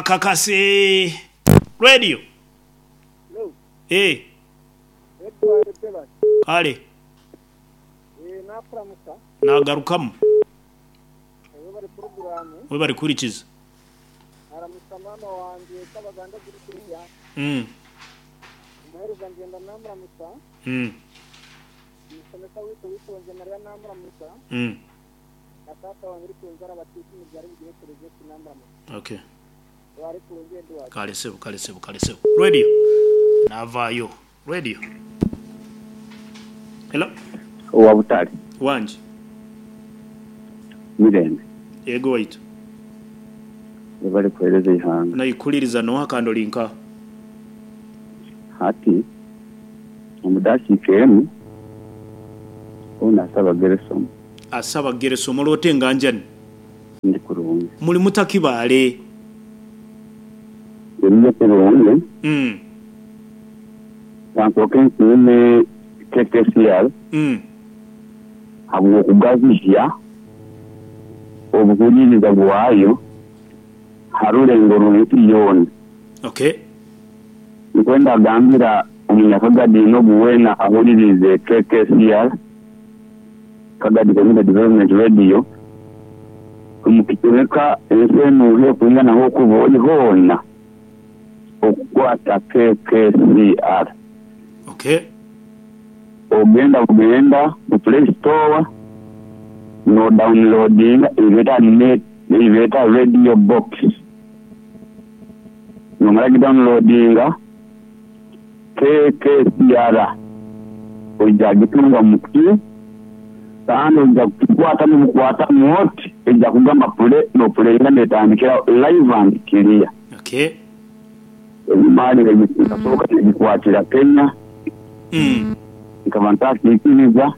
Kakase Radio. Eh. Kale. Nagarukamu. Webare kuhurikiza. Mm. Mm. Mm. Okay. Kale sebo, kale sebo, kale sebo. Radio. Navaayo. Radio. Hello. Owa Butare. Wangi. Mirembe. Yego waitu. Webale kuhereza eihanga. Naikuliriza noha kandi ori nkaha? Hati omu dakiika emu onu asaba Geresomu. Asaba Geresomu oli ota enganjani? Ndi kurungi. Muli muta Kibaale? Ndi kurungi. Kansooke nsiime KKCR habw'okugazihya obuhuririza bwayo ha rurengo rw'ensi yoona. Okay. Nkwenda gambira omunyakagadi n'ogu weena ahuririize KKCR, Kagadi Community Development Radio, omu kicweka ensi enu h'ekwingana h'okuba ori hoona okukwata KKCR. Okay. Ogenda bugenda ku Play Store n'odauniloodinga ei beeta Radio Box. Nomara gidauniloodinga, KKCR oija gitunga mu ki kandi oija kugikwatamu bukwatamu oti eija kugamba pule n'opuleyinga n'etandikirawo live and clear. Okay. Enyima nkasooka nagikwatira Kenya nkaba ntakiikiriza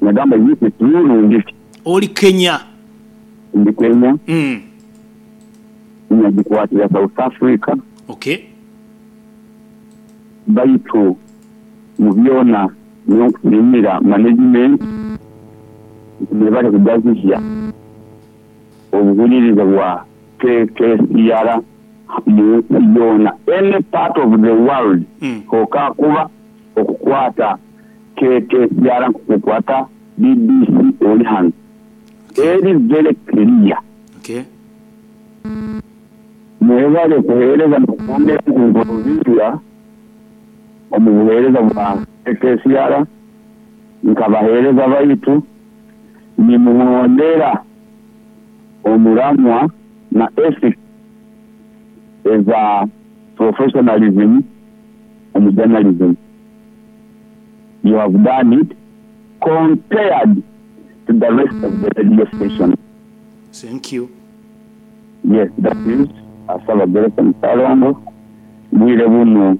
nagamba is it true rundi ki. Oli Kenya? Ndi Kenya. Nagikwatira South Africa. Okay. Baitu mu byona nyowe nkusiimira management nti mwebale kugazihya obuhuririza bwa KKCR mu nsi yoona, any part of the world hokakuba okukwata KKCR nkokukwata BBC ori hanu eri very clear. Mwebale kuheereza n'okwongera kuimprovinga omu buheereza bwa KKCR nka baheereza baitu nimuhondera omuramwa na ethics eza professionalism omu journalism. You have done it compared to the rest of the radio stations. Thank you. Yes that is Asaba Gerson Ssalongo, bwire bunu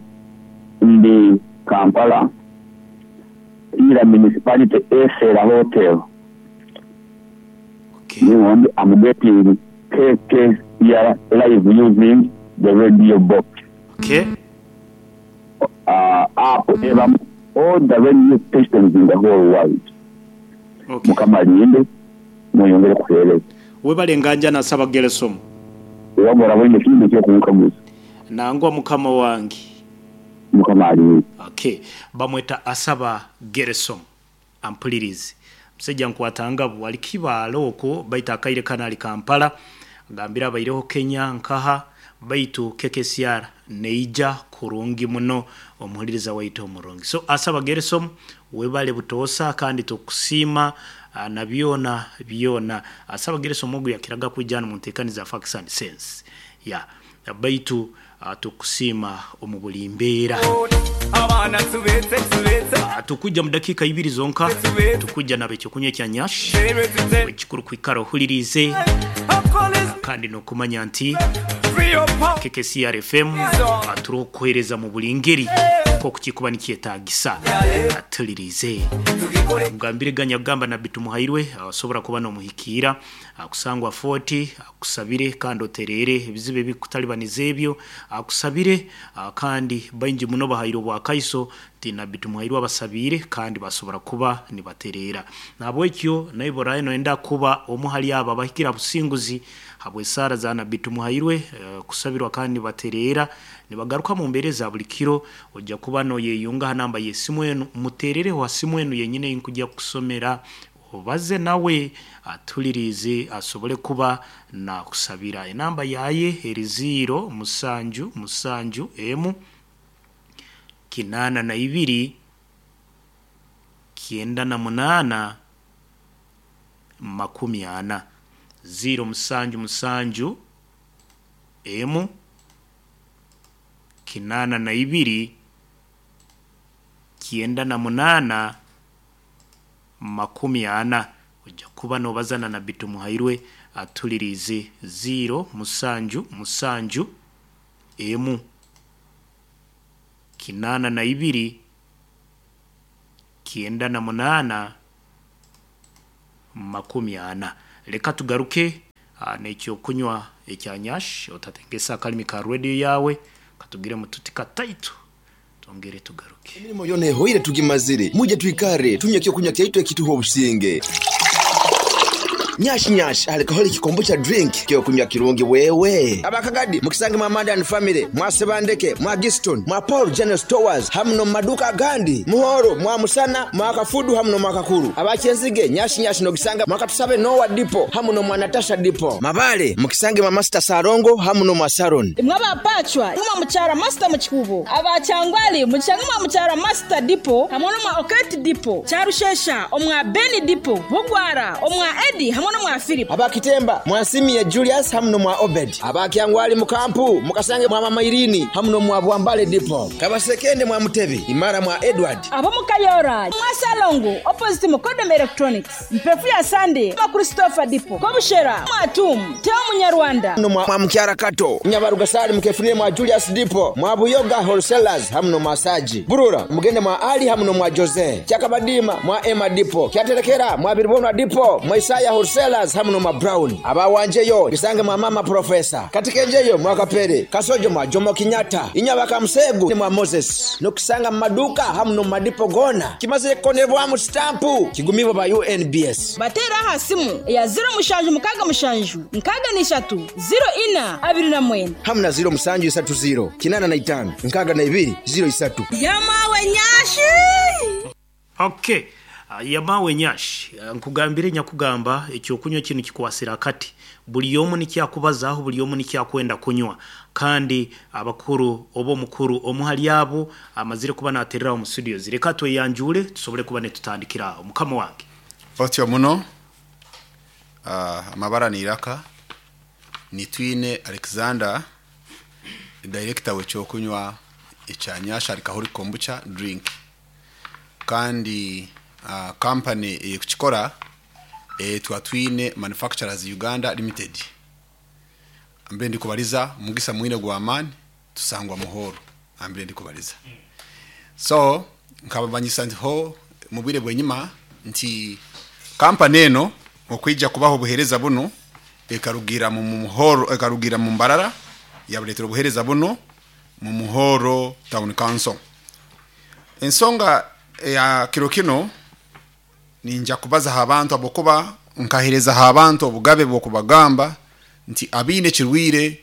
ndi Kampala, Lira Municipality Esera Hotel. Okay. Niwo ndi am getting KKCR live using the radio box. Okay. App ebamu all the radio stations in the whole world. Okay. Mukama alinde mweyongere kuhereza. Webale nganjana Ssabageresomu. Wabura oraboine ekindi ekyokunkaguza. Nangwa mukama wange. Mukama alinde. Okay. Bamweta Asaba Geresomu. Ampulirize. Musaija nkwata ngabu ali Kibaale okwo baitu akaire kano ali Kampala. Agambire abaireho Kenya nkaha baitu KKCR neija kurungi muno omuhuliriza waitu omurungi. So Asaba Geresomu webale butoosa kandi tukusiima na byona byona. Asaba Geresomu ogu yakiraga kwija hanu muntekaniza Facts and Sense. Yeah. Baitu tukusiima omu buli mbeera. Tukwija mu dakiika ibiri zonka, tukwija naba ekyokunywa ekya Nyash. Ekikuru kwikara ohuririize kandi n'okumanya nti KKCR FM turi kukuheereza mu buri ngeri nk'oku kirikuba nikyetaagisa. Tuhuririize. Mugambire ganya kugamba Nabbi Tumuhairwe osobora kuba n'omuhikiira akusangwa Fort akusabire kandi otereere ebizibu ebirikukutaribaniza ebyo akusabire kandi baingi muno bahaire obwakaiso nti. Nti Nabbi Tumuhairwe abasabiire kandi basobora kuba nibatereera. Nahabwekyo naiwe oraabe noyenda kuba omu hali abo abahikire ha businguzi habw'esaara za Nabbi Tumuhairwe kusabirwa kandi nibatereera nibagaruka mu mbeera eza buli kiro, ojja kuba noyeyunga ha namba y'esimu enu, muteerereho ha simu enu yenyini ei nkujja kukusomera obaze nawe atuliriize asobole kuba nakusabira. Enamba yaye eri ziiro musanju musanju emu 82 98 40. Ziiro musanju musanju emu 82 98 40. Ojja kuba nobaza na Nabbi Tumuhairwe atuliriize ziiro musanju musanju emu 82 98 40. Leka tugaruke n'ekyokunywa ekya Nyash, otatengesa akalimi ka radio yaawe, katugiremu tuti kataito twongere tugaruke. Emirimo yoona ehoire tugimazire, mwije twikare tunywe ekyokunywa kyaitu ekituha obusinge. Nyash Nyash ali Kaholic Kombucha Drink kyokunywa kirungi wewe. Aba Kagadi mukisange mwa Amanda and Family, mwa Sebandeke, mwa Giston, mwa Paul General Stores hamu n'omu maduuka agandi. Muhoro, mwa Musana, mwa Kafudu hamu n'omwa Kakuru. Aba Kyenzige, Nyash Nyash n'ogisanga mwa Katusabe Noah Depot hamu n'omwa Natasha Depot. Mabale, mukisange mwa Masita Salongo hamu n'omwa Saron. Imwe aba Pacwa, mwa Mukyara Masita mu Kikuubo. Aba Kyangwali, mukisange mwa Mukyara Masita Depot hamwe n'omwa Oketi Depot. Kyarushesha, omwa Beni Depot. Bugwara, omwa Eddy hamwe n'omwa Philip. Aba Kitemba, mwa Nsimie Julius hamu n'omwa Obed. Aba Kyangwali mu Kampu, mukasange mwa Mama Irini hamu n'omwa Bwambale Depot. Kabasekende mwa Mutebi, Imara mwa Edward. Ab'omu Kayora, mwa Salongo, opposite Mukodom Electronics. Mpefu ya Sunday, mwa Christopher Depot. Kobushera, mwa Atum, Theo Munyarwanda. N'omwa Mukyara Kato. Nyabarugasali mukefunire mwa Julius Depot, mwa Buyoga Wholesalers hamu n'omwa Saji. Burura, mugende mwa Ali hamu n'omwa Jose. Kyakabadima, mwa Emma Depot. Kyaterekera, mwa Biribonwa Depot, mwa Isaya Wholesalers hamu n'omwa Brown. Aba Wanjeyo, bisange mwa Mama Professor. Katikenjeyo, mwa Kapere. Kasojo mwa Jomo Kenyatta. Inyabaka Musegu mwa Moses. N'okusanga mu maduuka hamu n'omu madipo goona. Kimazire kukonebwamu sitampu. Kigumibwa ba UNBS. Bateere aha simu eya 0767 63 04 29. Hamu na 0730 85 62 03. Yamawe Nyashi! Okay. Yamawe Nyash, nkugambire nyakugamba ekyokunywa kinu kikwasira akati. Buli omu nikyakubazaho, buli omu nikyakwenda kunywa. Kandi abakuru oba omukuru omu hali abo amazire kuba naterera omu studios. Reka tweyanjure tusobole kuba nitutandikira aho. Mukama wange. Otyo muno amabara ni Iraka Nitwine Alexander, director w'ekyokunywa ekya Nyash Alcoholic Kombucha Drink, kandi company eyekukikora etwa Twine Manufacturers Uganda Limited. Ambire ndikubariza mugisa mwine gwa amani tusangwa muhoro ambire ndikubariza. So nkabamanyisa nti ho mubwire bwenyima nti kampani eno okwija kubaho obuhereza buno ekarugira mu muhoro, ekarugira mu Mbarara, yabuletera obuhereza buno mu Muhoro Town Council. Ensonga ya kiro kino ninja kubaza abantu abokuba nkahereza abantu obugabe bw'okubagamba nti abiine kirwire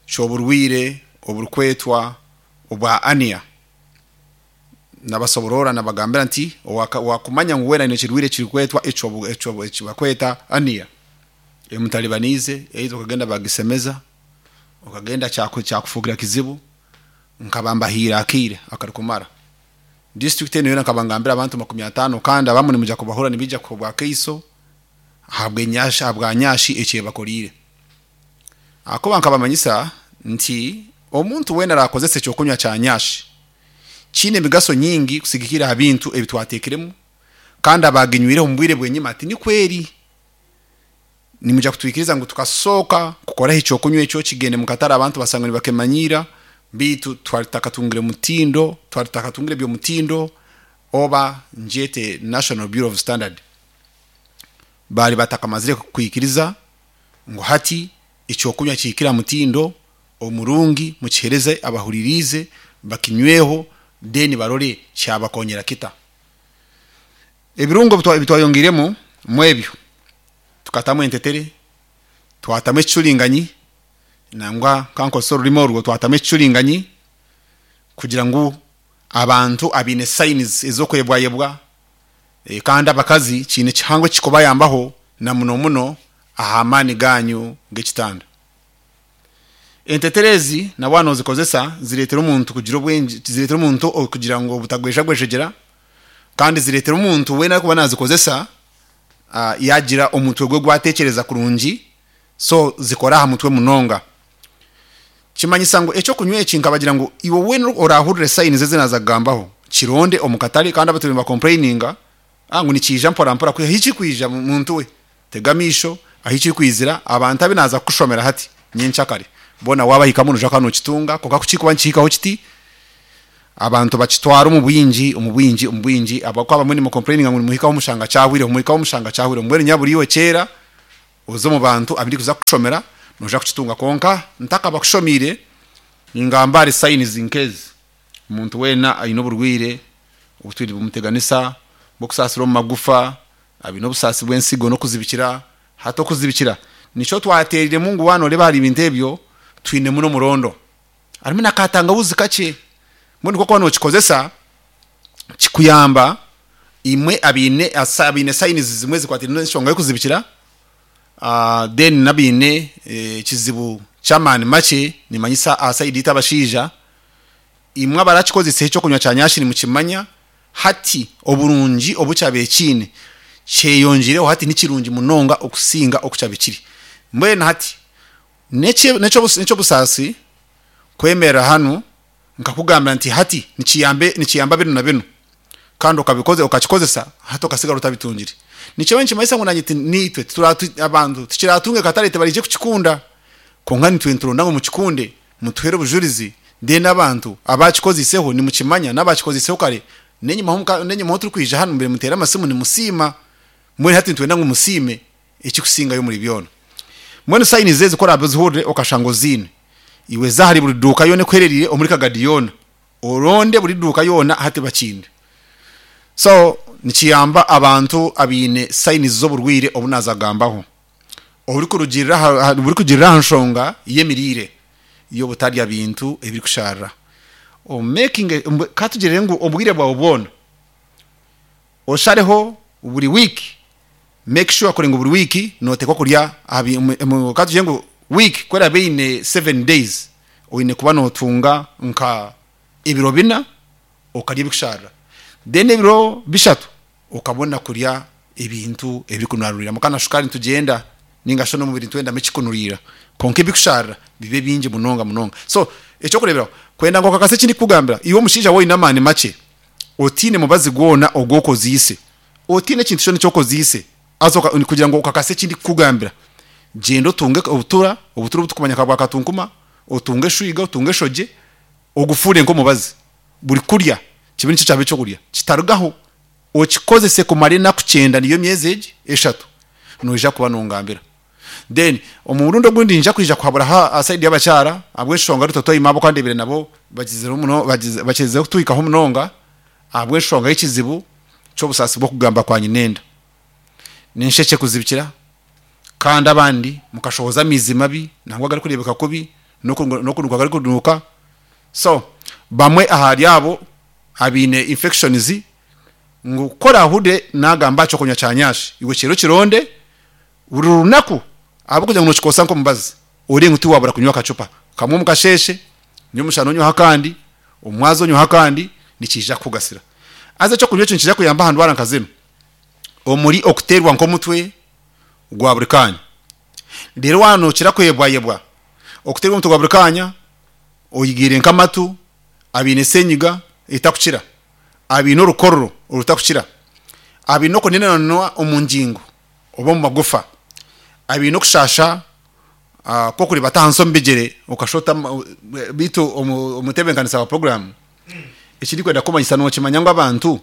ky'oburwire oburukwetwa obwa ania, nabasoborora nabagambira nti wakumanya ngu wena nekirwire kirikwetwa ekyo ekyo ekibakweta ania emutalibanize eizo okagenda bagisemeza okagenda kyakufugira kizibu. Nkabambahira akire akarikumara district eno yona nkabangambira abantu 50, kandi abamu nimuja kubahura nibija kubwa keiso habwe nyasha habwa nyashi ekyebakolire. Akoba nkabamanyisa nti omuntu wena arakozesa ekyokunywa kya nyashi kine emigaso nyingi kusigikira aha bintu ebitwatekiremu, kandi abaginywireho omu bwire bwenyima ati ni kweri nimuja kutwikiriza ngu tukasoka kukoraho ekyokunywa ekyo kigende mukatara abantu basanga nibakemanyira, bitu twari takatungire mutindo, twari takatungire byo mutindo oba njete National Bureau of Standard bali batakamazire kwikiriza ngu hati ekyokunywa kikira mutindo omurungi mukihereze abahuririze bakinyweho Then barore kyabakonyera kita. Ebirungo ebitwayongeiremu mwebyo tukatamu entetere, twatamu ekicuringanyi, nangwa kankozese orurimi orwo twatamu ekicuringanyi kugira ngu abantu abaine signs ez'okwebwayebwa kandi abakazi kiine kihango ekikubayambaho na muno muno aha maani ganyu g'ekitanda. Entetere ezi na waaba nozikozesa zireetera omuntu kugira obwengye, zireetera omuntu kugira ngu obutagwejagwejegyera kandi zireetera omuntu weena arikuba nazikozesa yaagira omutwe gwe gwatekyereza kurungi so zikora aha mutwe munonga. Kimanyisa ngu ekyokunywa eki nkabagira ngu iwe weena orahurire signs ezi naaza kugambaho kironde omu katare kandi abaturiire nibakompureyininga ngu nikiija mpora mpora kwiha ahi kirikwija muntu we tega amaisho ahi kirikwizira abantu abu naaza kukushomera hati nyenkyakare boona waabahikamu noija kuba nookitunga kwonka ku kirikuba nikihikaho kiti abantu bakitwara omu bwingi omu bwingi omu bwingi ahabw'okuba abamwe nimukompureyininga ngu nimuhikaho mushanga kyahwireho muhikaho mushanga kyahwireho mbwenu nyabura iwe kyeera Oze omu bantu abu ndikuza kukushomera noija kukitunga. Kwonka ntakabakushomiire, ningamba ahari signs nk'ezi, omuntu weena aine oburwaire obutwire nibumuteganisa bw'okusaasira omu magufa, aine obusaasi bw'ensigo n'okuzibikira. Hati okuzibikira nikyo twateeriremu ngu waaba nooreeba ahari ebintu ebyo twinemu n'omurondo. Harimu na katangahuzi kakye, mbwenu ku orikuba nookikozesa kikuyamba Imwe abaine abaine signs zimwe ezikwataine n'enshonga y'okuzibikira, then n'abaine ekizibu ky'amaani makye, nimanyisa aha side itwe abashaija, imwe abarakikozesa eky'okunywa kya nyashi nimukimanya, hati oburungi obu kyabaire kiine kyeyongyeireho hati nikirungi munonga okusinga oku kyabaire kiri. Mbwenu hati n'eky'obusaasi kwemerera hanu Nkakugambira nti, Hati nikiyamba, nikiyamba binu na binu, kandi okabikoze, okakikozesa, hati okasigara otabitungire. Nikyo nikimanyisa ngu naanye naitwe tituratu, abantu tikiratunge katare tibaraije kukikunda. Kwonka nitwe nituronda ngu mukikunde, mutuhere obujurizi, then abantu abaakikozeiseho nimukimanya, n'abaakikozeiseho kare, n'enyimaho muka, n'enyimaho turikwija hanu mubaire muteera amasimu nimusiima. Mbwenu hati nitwenda ngu musiime ekirikusingayo omuri byona. Mbwenu signs ezi ku oraabe ozihurire okashanga oziine, Iwe za ahari buri duuka yoona ekuherereire omuri Kagadi yoona, oronde buri duuka yoona hati bakiine. So nikiyamba abantu abaine signs z'oburwaire obu naaza kugambaho oburikurugiirira aha burikugirira aha nshonga y'emiriire y'obutarya bintu ebirikushaarira. Omekinge ka tugire ngu obwire bwawe bwona oshareho buri wiiki Make sure kuri ngu buri wiiki noteekwa kurya aha bi ka tugire ngu wiiki ku eraabe eine seven days, oine kuba notunga nka ebiro bina okarya ebikushaarira, then ebiro bishatu okabona kurya ebintu ebirikunaruriramu ka na shukaari nitugyenda ninga shi n'omubiri nitwendamu ekikunuriira kwonka ebikushaarira bibe bingi munonga munonga. So eky'okureeberaho kwenda ngu okakase eki ndikukugambira, iwe omushaija waaba oine amaani makye otaine mubazi gwona ogu okozeise, Otiine ekintu kyona eki okozeise, haza kugira ngu okakase eki ndikukugambira, gyenda otunge obutura, obutura obu turikumanya nka bwa katunkuma, otunge eshwiga, otunge eshogye, ogufuure nk'omubazi. Buri kurya kibe nikyo kyaba eky'okurya, kitarugaho. Okikozese kumara enaku kyenda niyo myezi egi eshatu, noija kuba nongambira. Then omurundi ogundi niinyija kwija kuhaburaho aha side y'abakyara ahabw'enshonga Ruto Toima ahabw'okuba ndeebire nabo bagizireho muno bakirizeho kutuhikaho munonga ahabw'enshonga y'ekizibu ky'obusaasi bw'okugamba kwa nyinenda n'enshekye kuzibikira kandi abandi mukashohoza amaizi mabi nangwa agarikureebeka kubi n'okunuuka garikunuuka so bamwe ahari abo abaine infections ngu ku oraahurire naagamba aha ky'okunywa kya nyashi iwe kyera okironde Buri runaku ahabw'okugira ngu nookikosa nk'omubazi, ori ngu tiwaabura kunywa akacupa kamwe omu kasheeshe, nyomushana onyweho akandi, omu mwazyo onyweho akandi, nikiija kukugasira. Haza eky'okunywa ekyo nikiija kuyamba aha ndwara nka zinu, omuri okuteerwa nk'omutwe gwa buri kaanya, reero waaba nookira kwebwayebwa, okuteerwa omutwe gwa buri kaanya, oigiire nk'amatu, abaine senyiga etakukira, abaine orukororo orutakukira, abaine okunenananwa omu ngingo, oba omu magufa, abaine okushaasha kw'okuribata ahansi omu bigyere okashota beitu omutebeekanisa wa puroguraamu eki ndikwenda kukumanyisa nookimanya ngu abantu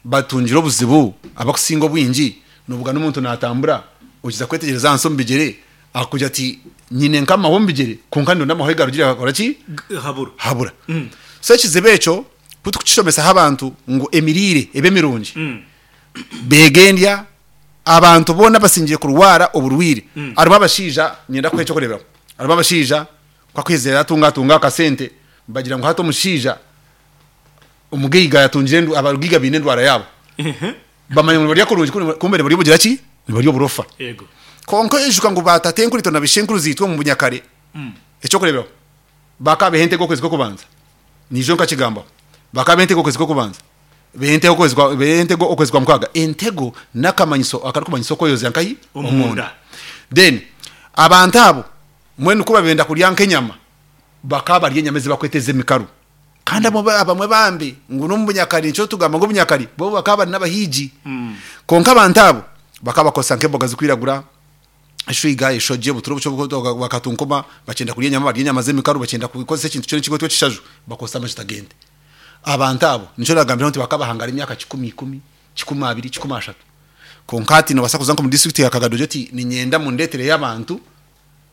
batungire obuzibu abarikusinga obwingi nobuga n'omuntu naatambura okiza kwetegyereza ahansi omu bigyere akakugira ati nyine nk'amahwa omu bigyere kwonka ndonda amahwa ahi garugire gakora ki? Habura. So ekizibu ekyo. Ku tukukishomesaho abantu ngu emiriire ebe mirungi, beege endya, abantu boona abasingire kurwara oburwaire, harimu abashaija, niinyenda kukuha eky'okureeberaho, harimu abashaija ku akuheza yaatunga atunga akasente, bagira ngu hati omushaija omugaiga yatungire endu, abagaiga baine endwara yaabo. Bamanya ngu nibarya kurungi kumbe nibarya obugira ki? Nibarya oburofa. Kwonka oijuka ngu baatatenkuriitwe na baishenkuru zaitwe omu bunyakare, eky'okureeberaho, Bakaabeha entego okwezi kw'okubanza, niijo nkakigambaho. Bakaabeha entego okwezi kw'okubanza, behe entego okwezi kwa, behe entego okwezi kwa mukaaga. Entego n'akamanyiso akarikumanyisa okweyoza nkahi? Omunda. Then abantu abo mbwenu ku babenda kurya nk'enyama, bakaba barya enyama ezi bakweta ez'emikaru. Kandi abamwe abamwe bambi ngu n'omu bunyakare nikyo tugamba ngu obunyakare bo bakaba bari n'abahiigi. Kwonka abantu abo bakaba bakozesa nk'emboga zirikwiragura, eshwiga, eshogye, obuturo obukye obu bakatunkuma, bakyenda kurya enyama barya enyama z'emikaru, bakyenda kukozesa ekintu kyona ekirikwetwa ekishaju, bakozesa amajuta g'ente. Abantu abo nikyo nagambiraho nti bakabahangara emyaka kikumi ikumi, kikumi abiri, kikumi ashatu. Kwonka hati nobaasa kuza nk'omu disiturikiti ya Kagado ogire oti niinyenda mundeetereyo abantu.